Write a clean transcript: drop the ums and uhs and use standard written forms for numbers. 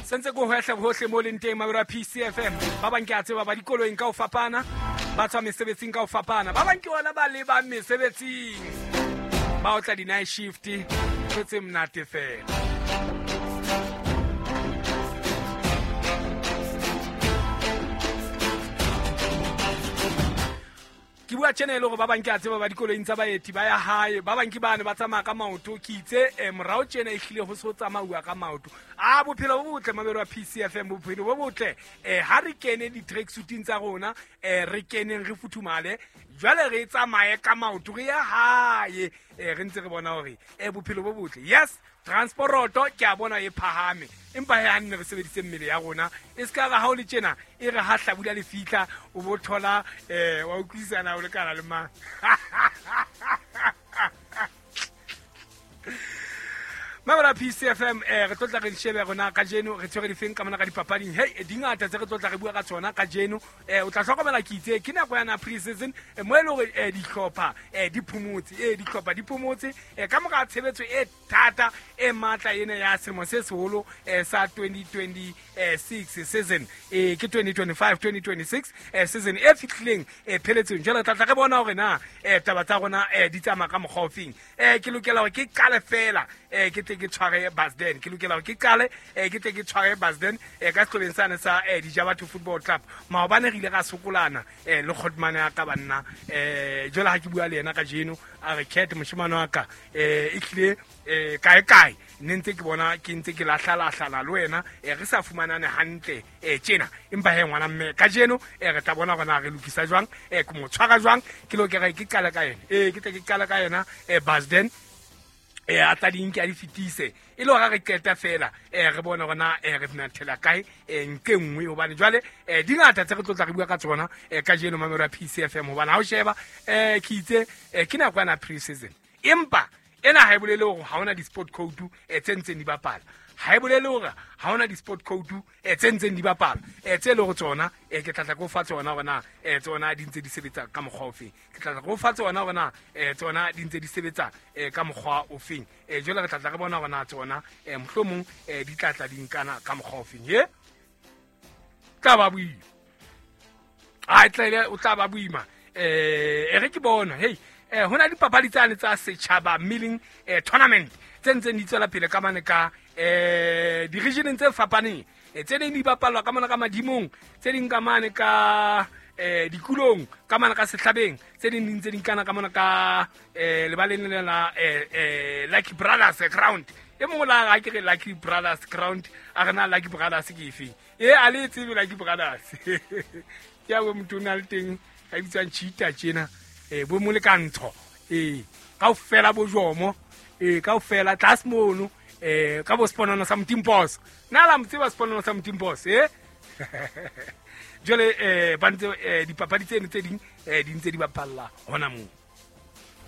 Sentse ko hohle hohle mo leng teng mabero a PCFM. Ba bang ke a tseba ba dikoloing ka ho fapana, ba tswa mesebetsing ka ho fapana. Ba bang ke ona ba lebang mesebetsing. Ba otla di-night shift, ntho tse monate fela. Ke bua tjena e le hore ba bang ke a tseba ba dikoloing tsa baeti ba ya hae, ba bang ke bane ba tsamaya ka maoto. Ke itse morao tjena e hlile ho se ho tsamauwa ka maoto. A bophelo bo botle mabelo a PCFM, bophelo bo botle. Ha re kene di-tracksuiteng tsa rona, re keneng re futhumale, jwale re tsamaye ka maoto re ye hae. Re ntse re bona hore bophelo bo botle. Yes, transporoto ke a bona e phahame, empa he ha nne re sebedise mmele ya rona, e se ka re ha o le tjena e re ha hlabula le fihla o bo thola wa utlwisisana o lekana le mang. Mabela PCFM, re tlo tla re shebe rona kajeno re tshwere difeng ka mona ka dipapading. Hey, di ngata tse re tlo tla re bua ka tsona kajeno. O tla hlokomela ke itse ke nako ya na pre-season, mo e leng hore dihlopha di phomotse, dihlopha di phomotse ka mora tshebetso e thata e matla ena ya selemo se seholo sa 2026 season, ke 2025-2026 season e fihlileng pheletsong. Jwale re tla tla re bona hore na taba tsa rona di tsamaya ka mokgwa ofeng. Ke lokela hore ke qale fela ke tle ke tshware Basden, ke lokela hore ke qale ke tle ke tshware Basden ka sehlobeng sane sa Dijabatho Football Club. Maobane re ile ra sokolana le kgotmane ya ka banna. Jwale ha ke bua le yena kajeno a re Cat moshemane wa ka, e hlile kae kae ne ntse ke bona ke ntse ke lahlalahlana le wena, re sa fumanane hantle tjena. Empa he ngwana mme kajeno re tla bona hore na re lokisa jwang, ke mo tshwara jwang. Ke lokela ke qale ka yena, ke tle ke qale ka yena Basden, a tla di nke a di fetise e le hore re qeta fela re bone hore na re mathela kae nke nngwe, hobane jwale di ngata tse re tlo tla re bua ka tsona kajeno mamelo ya PCFM. Hobane ha o sheba ke itse ke nako ya pre-season, empa ena ha e bolele hore ha hona di-sport code tse ntseng di bapala, ha e bolele hore ha hona di-sport code tse ntseng di bapala tse le hore tsona ke tla tla ke o fa tsona hore na tsona di ntse di sebetsa ka mokgwa ofeng. Ke tla tla ke o fa tsona hore na tsona di ntse di sebetsa ka mokgwa ofeng. Jwale re tla tla re bona hore na tsona mohlomong di tla tla di nkana ka mokgwa ofeng. Ye tla ba boima, a tla o tla ba boima. E re ke bona hey hona dipapadi tsane tsa setjhaba milling tournament tse ntseng di tswela pele ka mane ka di-regioneng tse fapaneng, tse ding di bapalwa ka mona ka madimong, tse ding ka mane ka dikulong, ka mane ka sehlabeng, tse ding di ntse di nkana ka mona ka lebaleng lena la Lucky Brothers ground. E mongwe la ga ke re Lucky Brothers ground, a re na Lucky Brothers ke efeng? E a le tsebe Lucky Brothers. Ke ya bo motho o na le teng a bitswang Cheetah tjena, bo molekantsho, kaofela bo jomo, kaofela tlase mono, ka bo seponono sa Motimpos. Na la mo tseba seponono sa Motimpos? Jwale ba ntse dipapadi tseno tse ding di ntse di bapalla hona moo.